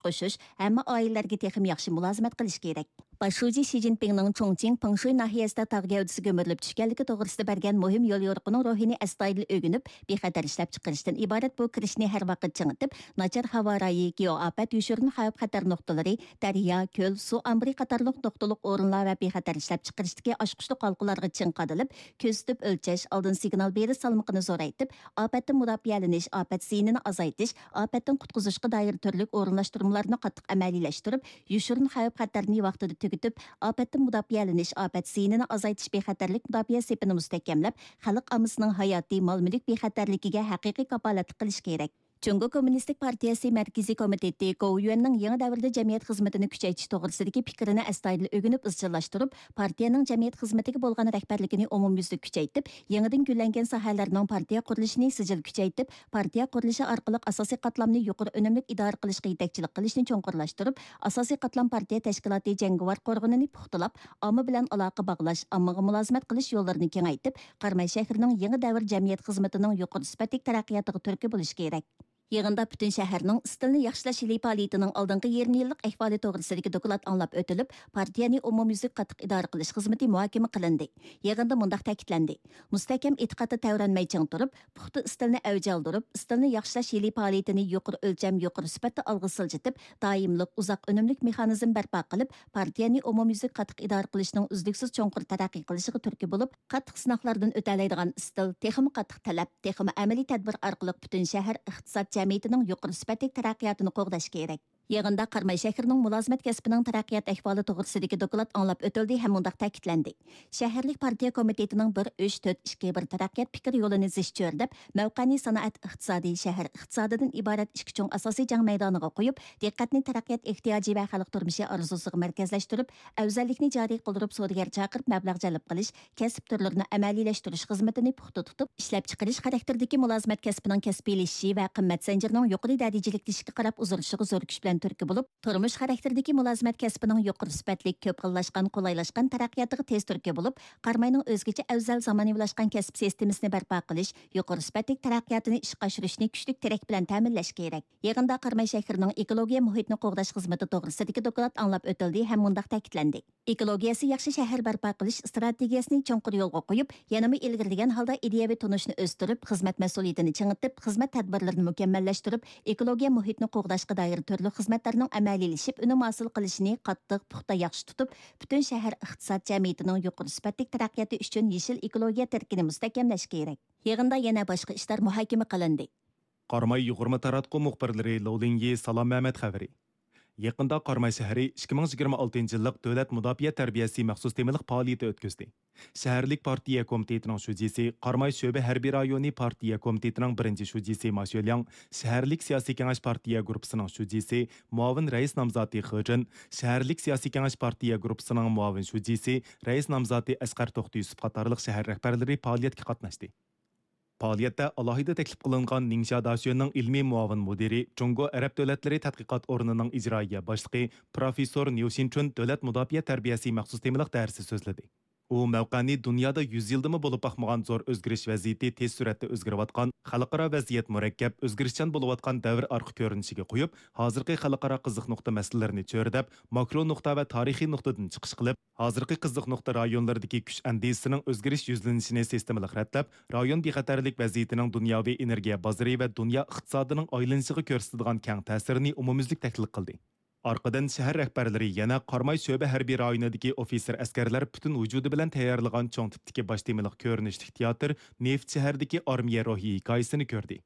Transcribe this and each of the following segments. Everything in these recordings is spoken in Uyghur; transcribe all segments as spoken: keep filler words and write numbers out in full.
قوشۇش، ھەممە ئائىلىلەرگە تېخىمۇ ياخشى مۇلازىمەت قىلىش كېرەك. باش شۇجى شى جىنپىڭنىڭ چۇڭچىڭ پېڭشۇي ناھىيەسىدە تاغ گەۋدىسى كۆمۈرۈلۈپ چۈشكەنلىكى توغرىسىدا بەرگەن مۇھىم يوليورۇقىنىڭ روھىنى ئەستايىدىل ئۆگىنىپ، بىخەتەر ئىشلەپچىقىرىشتىن ئىبارەت بۇ كىرىشنى ھەر ۋاقىت چىڭىتىپ، ناچار ھاۋا رايى، گېئوئاپەت، يوشۇرۇن خەۋپ-خەتەر نۇقتىلىرى، دەريا، كۆل، سۇ ئامبىرى قاتارلىق نۇقتىلىق ئورۇنلار ۋە بىخەتەر ئىشلەپچىقىرىشتىكى ئاچقۇچلۇق ھالقىلارغا چىڭ قادىلىپ، كۆزىتىپ ئۆلچەش، ئالدىن سىگنال بېرىش سالمىقىنى زورايتىپ، ئاپەتتىن مۇداپىئەلىنىش، ئاپەت زىيىنىنى ئازايتىش، ئاپەتتىن قۇتقۇزۇشقا دائىر تۈرلۈك ئورۇنلاشتۇرمىلارنى قاتتىق ئەمەلىيلەشتۈرۈپ، يوشۇرۇن خەۋپ-خەتەرنى ۋاقتىدا تۈگىتىپ، ئاپەتتىن مۇداپىئەلىنىش، ئاپەت زىيىنىنى ئازايتىش بىخەتەرلىك مۇداپىئە سېپىنى مۇستەھكەملەپ، خەلق ئاممىسىنىڭ ھاياتىي، مال-مۈلۈك بىخەتەرلىكىگە ھەقىقىي كاپالەتلىك قىلىشى كېرەك. جۇڭگو كوممۇنىستىك پارتىيەسى مەركىزىي كومىتېتى گوۋۇيۈەننىڭ يېڭى دەۋردە جەمئىيەت خىزمىتىنى كۈچەيتىش توغرىسىدىكى پىكرىنى ئەستايىدىل ئۆگىنىپ ئىزچىللاشتۇرۇپ، پارتىيەنىڭ جەمئىيەت خىزمىتىگە بولغان رەھبەرلىكىنى ئومۇميۈزلۈك كۈچەيتىپ، يېڭىدىن گۈللەنگەن ساھەلەرنىڭ پارتىيە قۇرۇلۇشىنى سىجىل كۈچەيتىپ، پارتىيە قۇرۇلۇشى ئارقىلىق ئاساسىي قاتلامنى يۇقىرى ئۈنۈملۈك ئىدارە قىلىشقا يېتەكچىلىك قىلىشنى چوڭقۇرلاشتۇرۇپ، ئاساسىي قاتلام پارتىيە تەشكىلاتى جەڭگىۋار قورغىنىنى پۇختىلاپ، ئامما بىلەن ئالاقە باغلاش، ئاممىغا مۇلازىمەت قىلىش يوللىرىنى كېڭەيتىپ، قاراماي شەھىرىنىڭ يېڭى دەۋر جەمئىيەت خىزمىتىنىڭ يۇقىرى سۈپەتلىك تەرەققىياتىغا تۈرتكە بولۇشى كېرەك. يىغىندا پۈتۈن شەھەرنىڭ ئىستىلنى ياخشىلاش يىلى پائالىيىتىنىڭ ئالدىنقى يېرىم يىللىق ئەھۋالى توغرىسىدىكى دوكلات ئاڭلاپ ئۆتۈلۈپ، پارتىيەنى ئومۇميۈزلۈك قاتتىق ئىدارە قىلىش خىزمىتى مۇھاكىمە قىلىندى. يىغىندا مۇنداق تەكىتلەندى: مۇستەھكەم ئېتىقادتا تەۋرەنمەي چىڭ تۇرۇپ، پۇختا ئىستىلنى ئەۋج ئالدۇرۇپ، ئىستىلنى ياخشىلاش يىلى پائالىيىتىنى يۇقىرى ئۆلچەم، يۇقىرى سۈپەتتە ئالغا سىلجىتىپ، دائىملىق، ئۇزاق ئۈنۈملۈك مېخانىزم بەرپا قىلىپ، پارتىيەنى ئومۇميۈزلۈك قاتتىق ئىدارە قىلىشنىڭ ئۈزلۈكسىز چوڭقۇر تەرەققىي قىلىشىغا تۈرتكە بولۇپ، قاتتىق سىناقلاردىن ئۆتەلەيدىغان ئىستىل، تېخىمۇ قاتتىق تەلەپ، تېخىمۇ ئەمەلىي تەدبىر ئارقىلىق پۈتۈن شەھەر ئىقتىساد جەمئىيىتىنىڭ يۇقىرى سۈپەتلىك تەرەققىياتىنى قوغداش كېرەك. يىغىندا قاراماي شەھىرىنىڭ مۇلازىمەت كەسپىنىڭ تەرەققىيات ئەھۋالى توغرىسىدىكى دوكلات ئاڭلاپ ئۆتۈلدى ھەم مۇنداق تەكىتلەندى: شەھەرلىك پارتىيە كومىتېتىنىڭ بىر ئۈچ تۆت ئىككى بىر تەرەققىيات پىكىر يولىنى زىچ چۆرىدەپ، مەۋقەنى سانائەت ئىقتىسادى، شەھەر ئىقتىسادىدىن ئىبارەت ئىككى چوڭ ئاساسىي جەڭ مەيدانىغا قويۇپ، دىققەتنى تەرەققىيات ئېھتىياجى ۋە خەلق تۇرمۇشى ئارزۇسىغا مەركەزلەشتۈرۈپ، ئەۋزەللىكنى جارى قىلدۇرۇپ، سودىگەر چاقىرىپ مەبلەغ جەلپ قىلىش، كەسىپ تۈرلىرىنى ئەمەلىيلەشتۈرۈش خىزمىتىنى پۇختا تۇتۇپ، ئىشلەپچىقىرىش خاراكتېرىدىكى مۇلازىمەت كەسپىنىڭ كەسپىيلىشىشى ۋە قىممەت زەنجىرىنىڭ يۇقىرى دەرىجىلىكلىشىشىگە قاراپ ئۇزىرىشىغا زور كۈچ بىلەن تۈرتكە بولۇپ، تۇرمۇش خاراكتېرىدىكى مۇلازىمەت كەسپىنىڭ يۇقىرى سۈپەتلىك، كۆپ خىللاشقان، قولايلاشقان تەرەققىياتىغا تېز تۈرتكە بولۇپ، قاراماينىڭ ئۆزگىچە ئەۋزەل زامانىۋىلاشقان كەسىپ سىستېمىسىنى بەرپا قىلىش، يۇقىرى سۈپەتلىك تەرەققىياتىنى ئىشقا ئاشۇرۇشنى كۈچلۈك تىرەك بىلەن تەمىنلەش كېرەك. يىغىندا قاراماي شەھىرىنىڭ ئېكولوگىيە مۇھىتنى قوغداش خىزمىتى توغرىسىدىكى دوكلات ئاڭلاپ ئۆتۈلدى ھەم مۇنداق تەكىتلەندى: ئېكولوگىيەسى ياخشى شەھەر بەرپا قىلىش ئىستراتېگىيەسىنى چوڭقۇر يولغا قويۇپ، يەنىمۇ ئىلگىرىلىگەن ھالدا ئىدىيەۋى تونۇشنى ئۆستۈرۈپ، خىزمەت مەسئۇلىيىتىنى چىڭىتىپ، خىزمەت تەدبىرلىرىنى مۇكەممەللەشتۈرۈپ، ئېكولوگىيە مۇھىتنى قوغداشقا دائىر تۈرلۈك خىزمەتلەرنىڭ ئەمەلىيلىشىپ، ئۈنۈم ھاسىل قىلىشىنى قاتتىق، پۇختا، ياخشى تۇتۇپ، پۈتۈن شەھەر ئىقتىساد جەمئىيىتىنىڭ يۇقىرى سۈپەتلىك تەرەققىياتى ئۈچۈن يېشىل ئېكولوگىيە تىرىكىنى مۇستەھكەملەش كېرەك. يىغىندا يەنە باشقا ئىشلار مۇھاكىمە قىلىندى. قاراماي يۇغۇرما تاراتقۇ مۇخبىرلىرى لو لىنيى، سالام مەمەت خەۋىرى. يېقىندا قاراماي شەھىرى ئىككى مىڭ يىگىرمە ئالتىنچى يىللىق دۆلەت مۇداپىئە تەربىيەسى مەخسۇس تېمىلىق پائالىيىتى ئۆتكۈزدى. شەھەرلىك پارتىيە كومىتېتىنىڭ شۇجىسى، قاراماي شۆبە ھەربىي رايونى پارتىيە كومىتېتىنىڭ بىرىنچى شۇجىسى ما شۆلياڭ، شەھەرلىك سىياسىي كېڭەش پارتىيە گۇرۇپپىسىنىڭ شۇجىسى، مۇئاۋىن رەئىس نامزاتى خې جىن، شەھەرلىك سىياسىي كېڭەش پارتىيە گۇرۇپپىسىنىڭ مۇئاۋىن شۇجىسى، رەئىس نامزاتى ئەسقەر توختى يۈسۈپ قاتارلىق شەھەر رەھبەرلىرى پائالىيەتكە قاتناشتى. پائالىيەتتە ئالاھىدە تەكلىپ قىلىنغان نىڭشيا داشۆنىڭ ئىلمىي مۇئاۋىن مۇدىرى، جۇڭگو ئەرەب دۆلەتلىرى تەتقىقات ئورنىنىڭ ئىجرائىيە باشلىقى پروفېسسور نيۇ شىنچۈن دۆلەت مۇداپىئە تەربىيەسى مەخسۇس تېمىلىق دەرسى سۆزلىدى. ئۇ مەۋقەنى دۇنيادا يۈز يىلدىمۇ بولۇپ باقمىغان زور ئۆزگىرىش ۋەزىيىتى، تېز سۈرئەتتە ئۆزگىرىۋاتقان، خەلقئارا ۋەزىيەت مۇرەككەپ، ئۆزگىرىشچان بولۇۋاتقان دەۋر ئارقا كۆرۈنۈشىگە قويۇپ، ھازىرقى خەلقئارا قىزىق نۇقتا مەسىلىلىرىنى چۆرىدەپ، ماكرو نۇقتا ۋە تارىخىي نۇقتىدىن چىقىش قىلىپ، ھازىرقى قىزىق نۇقتا رايونلىرىدىكى كۈچ ئەندىزىسىنىڭ ئۆزگىرىش يۈزلىنىشىنى سىستېمىلىق رەتلەپ، رايون بىخەتەرلىك ۋەزىيىتىنىڭ دۇنياۋى ئېنېرگىيە بازىرى ۋە دۇنيا ئىقتىسادىنىڭ ئايلىنىشىغا كۆرسىتىدىغان كەڭ تەسىرىنى ئومۇميۈزلۈك تەھلىل قىلدى. ئارقىدىن شەھەر رەھبەرلىرى يەنە قاراماي شۆبە ھەربىي رايونىدىكى ئوفىتسېر ئەسكەرلەر پۈتۈن ۋۇجۇدى بىلەن تەييارلىغان چوڭ تىپتىكى باش تېمىلىق كۆرۈنۈشلۈك تىياتىر نېفىت شەھىرىدىكى ئارمىيە روھى ھېكايىسىنى كۆردى.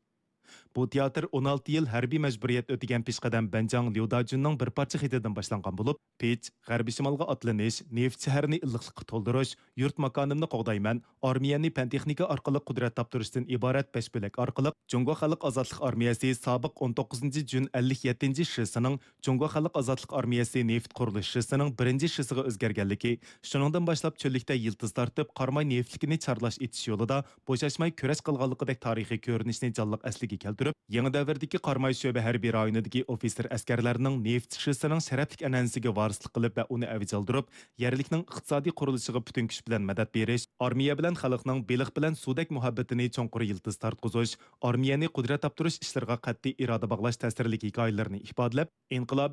بۇ تىياتىر ئون ئالتە يىل ھەربىي مەجبۇرىيەت ئۆتىگەن پېشقەدەم بەنجاڭ ليۇداجۈننىڭ بىر پارچە خېتىدىن باشلانغان بولۇپ، پېچ، غەربىي شىمالغا ئاتلىنىش، نېفىت شەھىرىنى ئىللىقلىققا تولدۇرۇش، يۇرت ماكانىمنى قوغدايمەن، ئارمىيەنى پەن تېخنىكا ئارقىلىق قۇدرەت تاپتۇرۇشتىن ئىبارەت بەش بۆلەك ئارقىلىق جۇڭگو خەلق ئازادلىق ئارمىيەسى سابىق ئون توققۇزىنچى جۈن ئەللىك يەتتىنچى شىسىنىڭ جۇڭگو خەلق ئازادلىق ئارمىيەسى نېفىت قۇرۇلۇش شىسىنىڭ بىرىنچى شىسىغا ئۆزگەرگەنلىكى، شۇنىڭدىن باشلاپ چۆللۈكتە يىلتىز تارتىپ، قاراماي نېفىتلىكىنى چارلاش ئېچىش يولىدا بوشاشماي كۈرەش قىلغانلىقىدەك تارىخىي كۆرۈنۈشنى جانلىق ئەسلىگە كەلتۈرۈپ، يېڭى دەۋردىكى قاراماي شۆبە ھەربىي رايونىدىكى ئوفىتسېر ئەسكەرلەرنىڭ نېفىت شىسىنىڭ شەرەپلىك ئەنئەنىسىگە ۋارىسلىق قىلىپ ۋە ئۇنى ئەۋج ئالدۇرۇپ، يەرلىكنىڭ ئىقتىسادىي قۇرۇلۇشىغا پۈتۈن كۈچ بىلەن مەدەت بېرىش، ئارمىيە بىلەن خەلقنىڭ بېلىق بىلەن سۇدەك مۇھەببىتىنى چوڭقۇر يىلتىز تارتقۇزۇش، ئارمىيەنى قۇدرەت تاپتۇرۇش ئىشلىرىغا قەتئىي ئىرادە باغلاش تەسىرلىك ھېكايىلىرىنى ئىپادىلەپ، ئىنقىلابىي